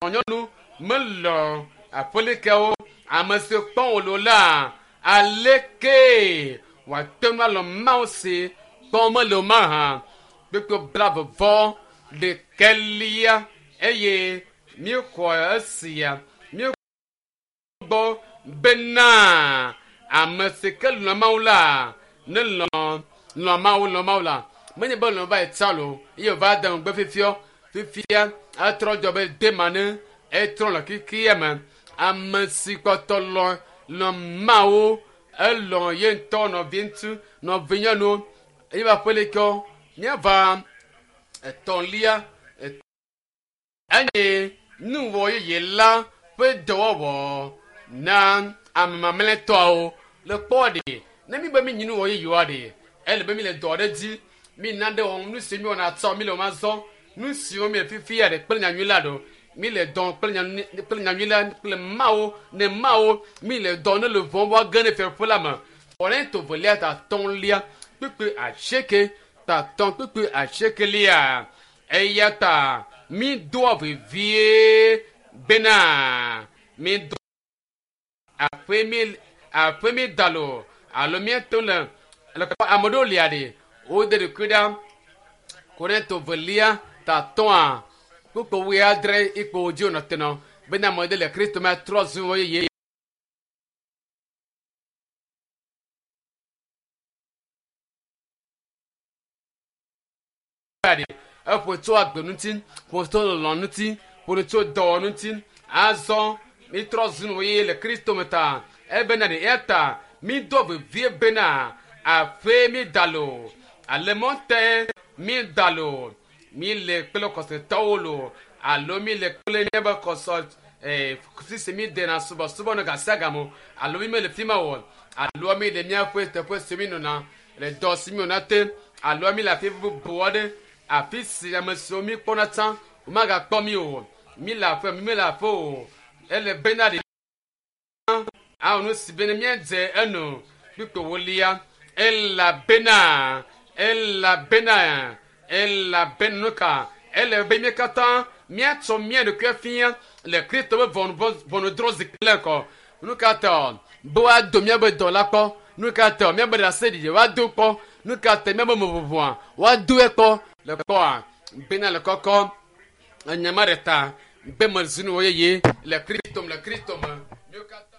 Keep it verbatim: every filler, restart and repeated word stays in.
Srɔ̃nyɔnu melɔ aƒelikawo ame si kpɔm wòle la aleke wòate ŋu alɔ Mawu si kpɔm mele o mahã. Kpukpui blaeve ɖekɛlia eye míexɔ esia míegbɔ bena ame si ke lɔ̃ Mawu la ne lɔ̃ lɔ̃ Mawu lɔ̃ Mawu la menye be lɔ̃ va yi tsa lo eye wòva de ŋugbe fifiɔ fifia etrɔ dzɔ be dema ne etrɔ le xexea me ame si kpɔtɔ lɔ̃ lɔ̃ Mawu elɔ̃ ye ŋutɔ nɔvi ŋutsu nɔvi nyɔnuwo eye be aƒelikawo míava etɔ̃lia eye nuwɔ yeye la ƒe dɔwɔwɔ na ame mamlɛtɔawo le kpɔ ɖe ne mi be mi nyi nuwɔ yeyewoa ɖe ele be mi le dɔ aɖe dzi mi na ɖe wɔm nu si mi wɔna tsɔ mi le wɔm azɔ nu siwo mi le fifia ɖe kple nyanyui la ɖo mi le dɔn kple nyanyui kple nyanyui la kple Mawu ne Mawu mi le dɔn ne le vɔm woage ne fiaɖuƒe la me Korinto velia tatɔ̃lia kpukpui asieke tatɔ̃ kpukpui asiekelia eya ta mi doa vevie bena mi do aƒe mi aƒe mi da lo alo míeto le le kpɔ ame ɖewo lia ɖe wode ɖokui ɖa Korinto velia tatɔ̃a kpukpui wuiadre ikpo dzi wònɔ te nɔ bena ame ɖe le Kristo me trɔ zu wo yeye. Eƒo tso agbe ŋuti, ƒo tso lɔlɔ̃ ŋuti, ƒo tso dɔwɔ ŋuti. Azɔ mitrɔ zu nu yeye le Kristo me ta. Ebena ɖe eya ta mi do vevie bena aƒe mi da lo ale mɔte mi da lo mi le kple xɔsetɔwo lo alo mi le kple míaƒe xɔsɔ ee sisi mi dena subɔsubɔ no gasiagame alo mi mele fi ma o alo mi le míaƒe teƒe si mi nɔna le dɔ si mi wɔna te alo mi le afi bubu aɖe afi si ame siwo mi kpɔna tsã womagakpɔ mi o mi le aƒe mi mele aƒe o ele bena ɖe awɔ nu si bena míadze enu kpukpui wolia elabena elabena elabena nu ka ele be mí katã míatsɔ mía ɖokui fia le Kristo ƒe ʋɔnudrɔ̃zikpui la ŋgɔ. Nu ka ta be woado míaƒe dɔ la kpɔ? Nu ka ta míaƒe ɖaseɖiɖi woado kpɔ? Nu ka ta míaƒe meʋuʋua woadoe kpɔ? Le kpɔa bena le kɔkɔ enyama ɖe ta be mezu nu yeye le Kristo me le Kristo me. Míwo katã